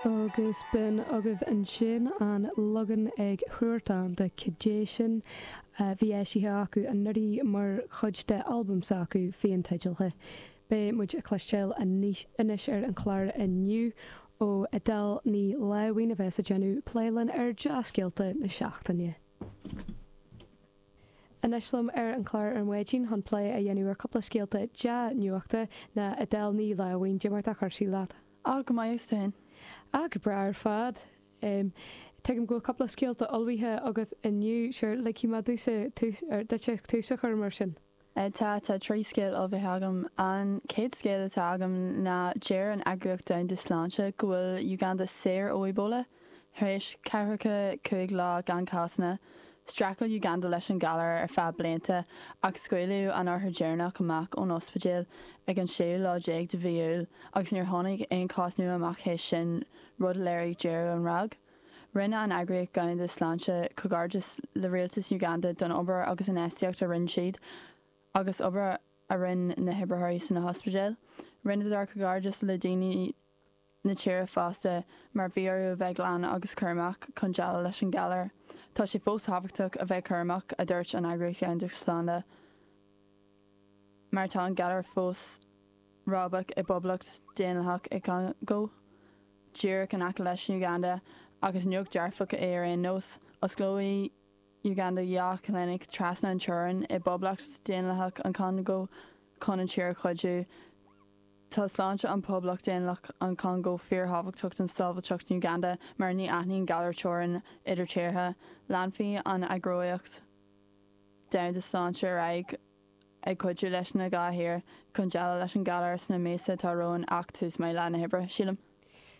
Agus b'in agaibh ansin an leagan ag Huartan de Cad é Sin a bhí eisithe acu anuraidh mar chuid de albam s'acu féin-teidealtha. Beidh muid ag cloisteáil anois ar an chlár inniu ó Edel Ní Láimhín a bheas ag déanamh plé linn ar dea-scéalta na seachtaine. Anois liom ar an chlár ar maidin chun plé a dhéanamh ar cúpla scéalta dea-nuachta ná Edel Ní Láimhín. Cad é mar atá cúrsaí leat? Á, go maith agus tú féin? Á, go breá ar fad. Tuigim go bhfuil cúpla scéalta ullmhaithe agat inniu. Sure, ligfidh mé duitse tús a chur mar sin. Tá, tá 3 scéal ullmhaithe agam. An chéad scéal atá agam ná deir an Eagraíocht Domhanda Sláinte go bhfuil Uganda saor ó Ebola, tar éis ceathracha 5 lá gan cásanna. Streachail Uganda leis an ghalar ar feadh blianta ach scaoileadh an othar deireanach amach ón ospidéal ag an séú lá déag de mhí Iúil agus níor tháinig aon chás nua amach théis sin, rud a léirigh deireadh an ráig. Rinne an Eagraíocht Dhomhanda Sláinte comhghairdeas le rialtas Uganda don obair agus infheistíocht a rinne siad agus obair a rinne na hoibritheoirí sna hospidéil. Rinneadar comhghairdeas le daoine na tíre fosta mar bhí orthu a bheith glan agus cúramach chun déileáil leis an galar. Tá sé fós tábhachtach a bheith cúramach, a dúirt an Eagraíocht Dhomhanda Sláinte, mar tá an galar fós rábach i bPoblacht Daonlathach an Chongó, díreach in aice leis Uganda, ach is nuacht dearfach é ar aon nós. Osclóidh Uganda 2 chlinic trasna an teorainn i bPoblacht Daonlathach an Chongó chun an tír a chuidiú. Tá sláinte an Poblacht Daonlathach an Chongó fíorthábhachtach don sábháilteacht in Uganda mar ní aithníonn galar teorainn idir tíortha. Leanfaidh an Eagraíocht Domhanda Sláinte ar aghaidh ag cuidiú leis na 2 thír chun déileáil leis an galar sna míosa atá romhainn ach tús maith le na hoibre, sílim.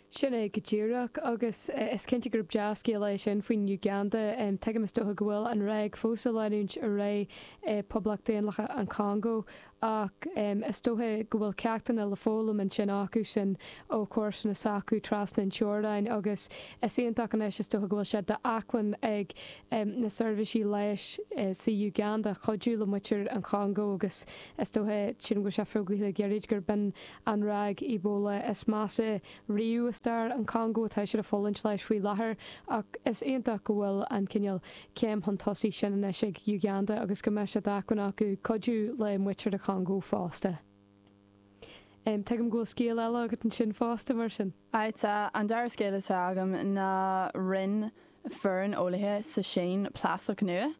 Sin é go díreach, agus is cinnte gurb dea-scéal é sin faoin Uganda. Tuigim is dócha go bhfuil an ráig fós ag leanúint ar aghaidh i Poblacht Daonlathach an Chongó, ach is dócha go bhfuil ceachtanna le foghlaim ansin acu sin ó chomharsana s'acu trasna an teorainn agus is iontach anois is dócha go bhfuil sé d'acmhainn ag na seirbhísí leighis sa Uganda cuidiú le muintir an Chongó agus is dócha, sílim go bhfuil sé fógraithe le gairid gurb in an ráig Ebola is measa riamh i stair an Chongó atá siad ag fulaingt leis faoi láthair ach is iontach go bhfuil an cineál céim chun tosaigh sin anois ag Uganda agus go mbeidh sé d'acmhainn acu cuidiú le muintir an Chongó fosta. Tuigim go bhfuil scéal eile agat ansin fosta, mar sin. Aye, tá. An dara scéal atá agam ná rinne foireann eolaithe sa Sín plaisteach nua.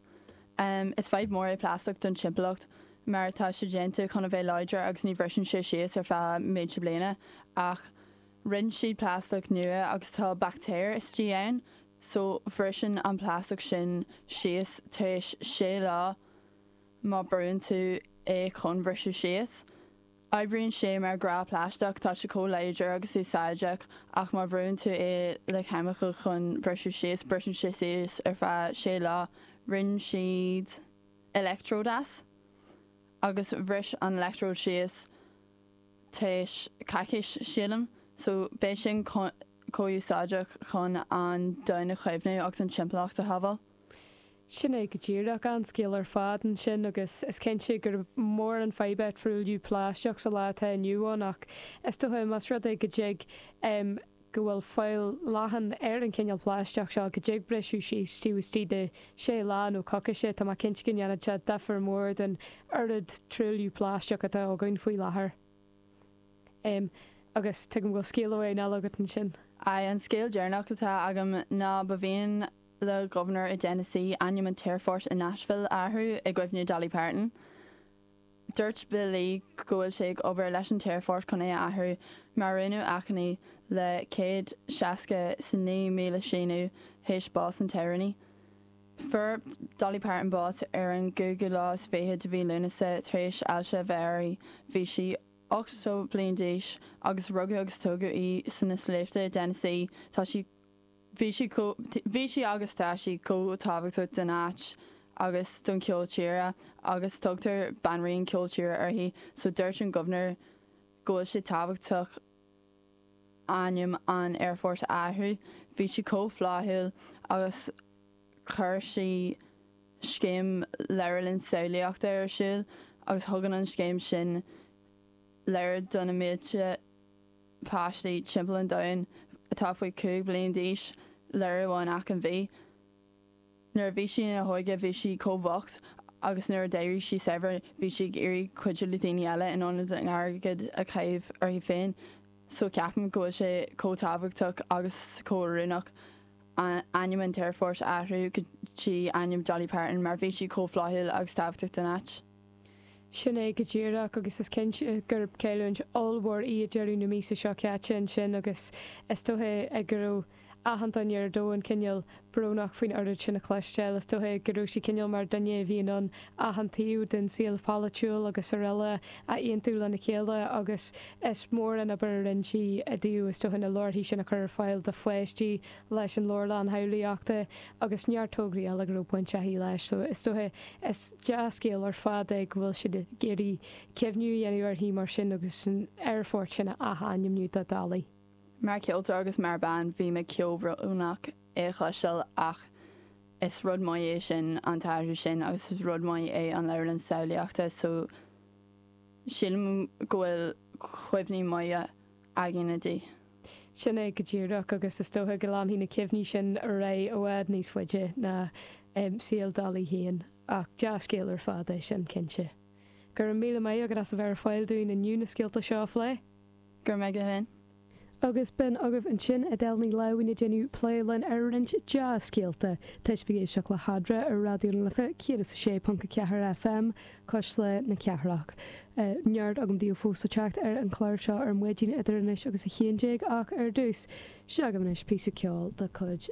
Is fadhb mór é plaisteach don timpeallacht mar tá sé déanta chun a bheith láidir agus ní bhriseann sé síos ar feadh mílte bliana ach rinne siad plaisteach nua agus tá baictéir istigh ann so bhriseann an plaisteach sin síos tar éis sé lá má brúann tú é chun bhriseadh síos. Oibríonn sé mar ghnáth plaisteach, tá sé chomh láidir agus úsáideach ach má bhrúann tú é le ceimiceáil chun briseadh síos, briseann sé síos ar feadh sé lá. Rinne siad electrode as agus bhris an electrode síos tar éis coicís, sílim. So beidh sin chomh úsáideach chun an domhan a chaomhnú agus an timpeallacht a shábháil. Sin é go díreach, an-scéal ar fad ansin agus is cinnte gurb mór an fadhb é truailliú plaisteach sa lá atá inniu ann ach is dócha más rud é go dtig go bhfuil fáil leathan ar an chineál plaisteach seo go dtig briseadh síos taobh istigh de sé lá nó coicíse, tá mé cinnte go ndéanfadh sé difear mór don oiread truailliú plaisteach atá againn faoi láthair. Agus tuigim go bhfuil scéal amháin eile agat ansin. Aye, an scéal deireanach atá agam ná ba mhian le gobharnóir i dTennessee ainm an t-aerfort i Nashville a athrú i gcuimhne Dolly Parton. Dúirt Bill Lee go bhfuil sé ag obair leis an t-aerfort chun é a athrú mar rinneadh achainí le 169,000 síniú théis bás an t-amhránaí. Fuair Dolly Parton bás ar an gcúigiú lá is fiche de mhí Lúnasa tar éis ailse a bheith uirthi. Bhí sí 80 bliain d'aois agus rugadh agus tógadh í sna sléibhte i dTennessee. Tá sí. Bhí sí chomh, bhí sí agus tá sí chomh tábhachtach don áit agus don cheol tíre agus tugtar Banríon Ceol Tíre uirthi so dúirt an gobharnóir go bhfuil sé tábhachtach ainm an aerfoirt a athrú. Bhí sí chomh flaithiúil agus chuir sí scéim leabharlann samhlaíochta ar siúl agus thugann an scéim sin leabhair do na mílte páistí timpeall an domhain. atá faoi 5 bliain d'aois lira amháin achan mhí. Nuair a bhí sí ina hóige bhí sí chomh bocht agus nuair a d'éirigh sí saibhir bhí sí ag iarraidh cuidiú le daoine eile in ionad an airgead a chaitheamh uirthi féin so ceapaim go bhfuil sé chomh tábhachtach agus chomh oiriúnach ainm an t-aerfort a athrú go dtí ainm Dolly Parton mar bhí sí chomh flaithiúil agus tábhachtach don áit. Sin é go díreach agus is cinnte gurb cailliúint ollmhór í i deireadh na míosa seo caite ansin agus is dóiche go raibh achan duine ar domhan cineál brónach faoin oiread sin a chloisteáil. Is dóiche go raibh sí cineál mar duine a bhí in ann achan taobh den saol polaitiúil agus araile a aontú lena chéile agus is mór an obair a rinne sí i dtaobh is dóiche na leabharthaí sin a chur ar fáil do pháistí leis an leabharlann shamhlaíochta agus neart tograí eile go raibh baint aici leis. So is dóiche is dea-scéal ar fad é go bhfuil siad ag iarraidh cuimhniú a dhéanamh uirthi mar sin agus an aerfort sin a ath-ainmniú do Dolly. Mar cheoltóir agus mar bean bhí mé chomh brónach é a chloisteáil ach is rud maith é sin an t-athrú sin agus is rud maith é an leabharlann samhlaíochta so sílim go bhfuil cuimhní maithe againne di. Sin é go díreach agus is dócha go leanfaidh na cuimhní sin ar aghaidh i bhfad níos faide ná saol Dolly féin. Ach dea-scéal ar fad é sin, cinnte. Go raibh míle maith agat as a bheith ar fáil dúinn inniu na scéalta seo a phlé. Go raibh maith agat féin. Agus b'in agaibh ansin Edel Ní Lamhain ag déanamh plé linn ar roinnt dea-scéalta. Tá sibh ag éisteacht le hEadra ar Raidió na Life 106.4 FM, Cuisle na Cathrach. Neart agam daoibh fós le teacht ar an chlár seo ar maidin idir anois agus a 11 ach ar dtús, seo agaibh anois píosa ceoil de chuid.